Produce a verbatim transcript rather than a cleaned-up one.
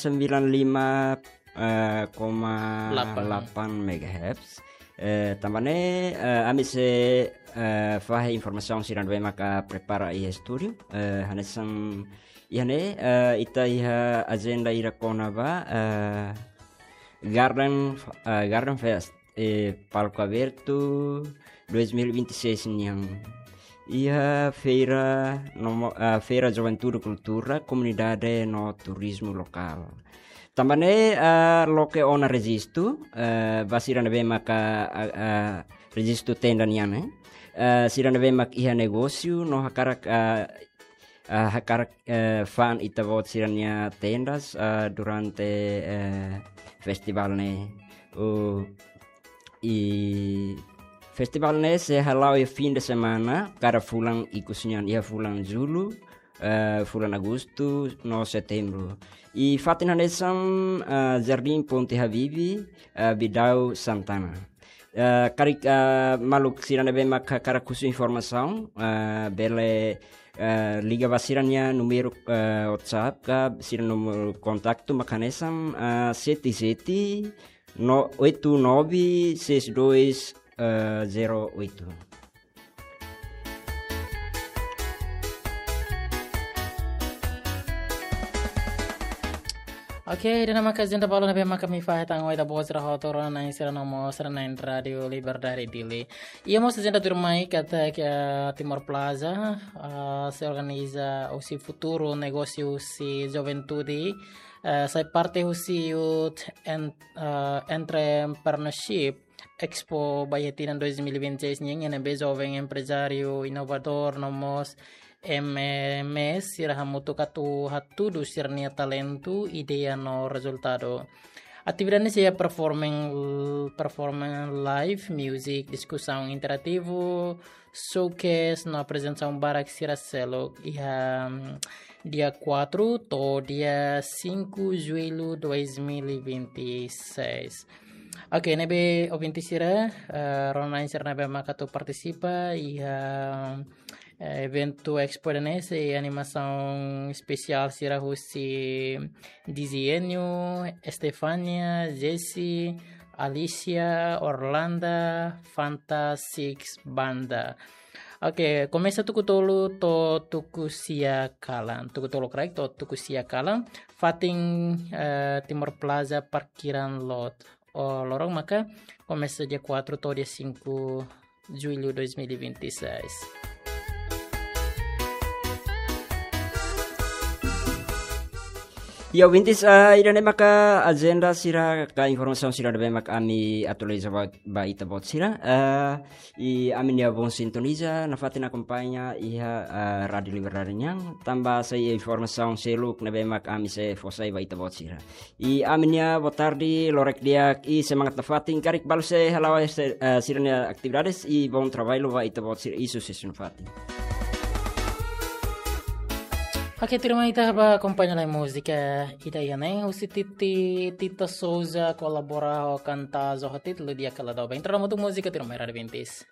sembilan lima, eh, koma delapan megahertz. Eh, tanba ne'e, eh, ami sei, eh, fahe informasaun sira ne'ebé maka prepara iha estúdiu. Eh, hanesan iha ne'e, eh, ita iha ajenda ida kona-ba, eh, Garden, eh, Garden Fest, eh, palco aberto dois mil e vinte e seis nian. Iha feira no mo-, eh, Feira Juventude, Kultura, Komunidade no Turizmu Lokál. Tanba ne'e, eh, loke ona rejistu, eh, ba sira ne'ebé maka, eh, eh, rejistu tenda nian, eh. Eh, sira ne'ebé mak iha negósiu no hakarak, eh, eh, hakarak, eh, fa'an ita-boot sira-nia tendas, eh, durante, eh, festivál ne'e. O, i festivál ne'e sei hala'o iha fim de semana, kada fulan ikus nian, iha fulan Jullu, eh, fulan Agostu no Setembru. I fatin hanesan, eh, Jardim Ponte Habibie, eh, Bidau Santana. Eh, karik, eh, maluk sira ne'ebé mak hakarak husu informasaun, eh, bele, eh, liga ba sira-nia númeru, eh, WhatsApp ka sira númeru kontaktu mak hanesan, eh, sete sete, no, oito nove seis dois, eh, zero oito. Oke, ida-ne'e maka ajenda balu ne'ebé maka ami fahe tan ho ita-boot sira hotu, rona-na'in sira no mós rona-na'in Rádio Liberdade Dili. Iha mós ajenda tuirmai katak, eh, Timor Plaza, eh, sei organiza husi futuru negósiu husi juventude, eh, sai parte husi Youth en-, eh, Entrepreneurship Expo ba iha tinan dois mil e vinte e seis nian, iha ne'ebé joven emprezáriu, inovadór no mós M M Es sira hamutuk atu hatudu sira-nia talentu, ideia no rezultadu. Atividade ne'e sei iha performing, performing live music, diskusaun interativu, showcase no aprezentasaun barak sira seluk iha, mm, dia quatro to'o dia cinco Julho dois mil e vinte e seis. Oke, ne'ebé ouvinte sira, eh, rona-na'in sira ne'ebé maka atu partisipa iha, eh, eventu Expo ida-ne'e sei animasaun espesiál sira husi Dizienio, Estefania, Jesse, Alicia, Orlanda, Fanta Six Banda. Oke, komesa tuku tolu to'o tuku sia kalan. Tuku tolu karik to'o tuku sia kalan. Fatin, eh, Timor Plaza, parkiran lot. O lorong maka komesa dia quatro to'o dia cinco Julho dois mil e vinte e seis. Ya, ouvintes, ah, ida-ne'e maka ajenda sira ka informasaun sira ne'ebé mak ami atualiza ba, ba ita-boot sira. Ah, i ami-nia bom sintoniza, nafatin akompaña iha, ah, Rádio Liberdade nian, tanba sai informasaun seluk ne'ebé mak ami sei fó sai ba ita-boot sira. I ami-nia boa tarde, lorokraik di'ak, i semangat nafatin, karik balu sei hala'o, eh, sira-nia atividades, i bom trabalho ba ita-boot sira, i susesu nafatin. Oke, tuirmai ita bá akompaña lai múzika ida iha ne'e, husi Titi, Tita Souza, kolabora ho kanta Zohatit, Ludia Kaladau. Bá entra hamutuk múzika, tuirmai Rádio Vintis.